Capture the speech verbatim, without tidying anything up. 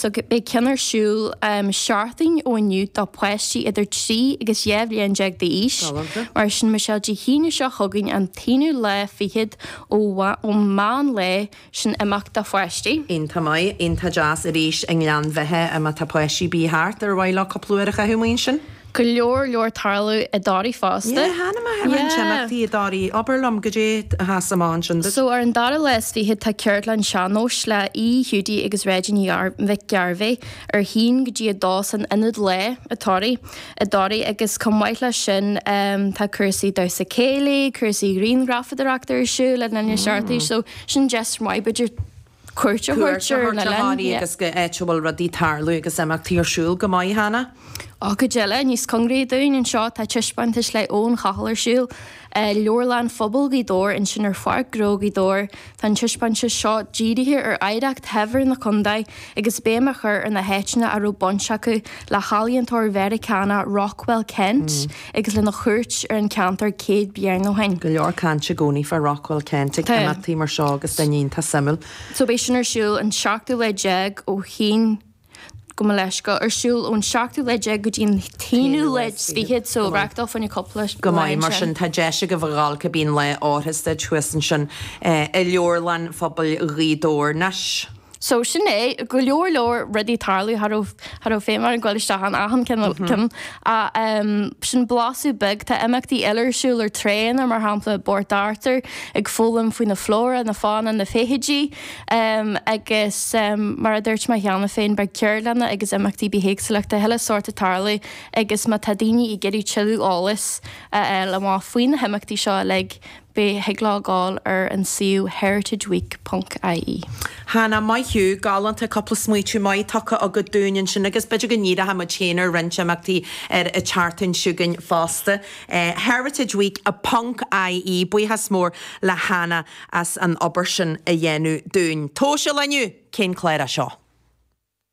So beidh ceann ar siúl um, seachtain ó inniu do pháistí idir trí agus dhá bhliain déag d'aois. Galánta. Mar sin Michelle Dé hAoine seo chugainn an t-aonú lá fichead ó ó mheán lae sin imeacht do pháistí. Iontach maith, iontach deas arís i nGleann Bheithe má tá páistí bí thart ar mhaith leo cúpla uair a chaitheamh amuigh ansin. Go leor leor tarlú i dToraí fosta. Yeah, Hannah ma Yeah. imeachtaí i dToraí abair liom goidé atá amach ansin. So ar an dara lá is fiche tá ceardlann sean-nóis le E Hiúdaí agus Reggie Mhic Gairbhé ar haon go dtí a dó san ionad lae i dToraí i dToraí agus chomh maith leis sin um, tá cúrsaí damhsa céilí, cúrsaí grianghrafadóireachta ar siúl le linn na seachtaine, so sin deis maith b'fhéidir cuairt a thabhairt ar na oileáin. agus go áit a bhfuil rudaí tarlú agus imeachtaí ar siúl go maith Hannah. Á go deile níos cóngaraí dúinn anseo tá taispeántas le Eoin Cathal ar siúl Leabharlann Phobail Ghaoth Dobhair ansin ar Pháirc Ghnó Ghaoth Dobhair Tá an taispeántas seo dírithe ar oidhreacht shaibhir na contae agus béim á chur ar na háiteanna a raibh baint acu le healaíontóir Mheiriceánach Rockwell Kent mm. agus lena chuairt ar an ceantar céad bliain ó shin. Go leor cainte i gcónaí fá Rockwell Kent ag imeachtaí mar seo agus daoine iontach suimiúil. So beidh sin ar siúl an seachtú lá déag ó haon go mo leis go ar siúl ón seachtú lá déag go dtí an t-aonú lá fichead so reachtáil fanne cúpla Go maith mar sin tá deis go bhgáil go bíon le áthasta thuas ansin i Leabharlann Phobail Ghaoth Dobhair anois. So sin é go leor leor rudaí tarlú thar féin mar an ghil isteach an achan cinn a sin blaiseadh beag tá imeachtaí eile ar siúl ar tránna mar shampla Port Arthur ag foghlaim faoi na flora na fauna na feithidí um, agus um, mar a dúirt mé cheana féin beidh ceardlanna agus imeachtaí bithéagsúlachta chuile shórt ag tarlú agus má tá daoine ag iarraidh tuilleadh eolais a fháil amach faoi na himeachtaí seo le beidh thig leo gabháil ar an suíomh heritageweek.ie. Hannah maith thú galánta cúpla smaoineamh maith tugtha agat dúinn ansin agus b'fhéidir go ndíreoidh muid féin ar roinnt imeachtaí ar an tseachtain seo chugainn fosta. Uh, Heritage Week a ponc IE buíochas mór le Hannah as an obair sin a dhéanamh dúinn. Tóise leniu cén clár é seo.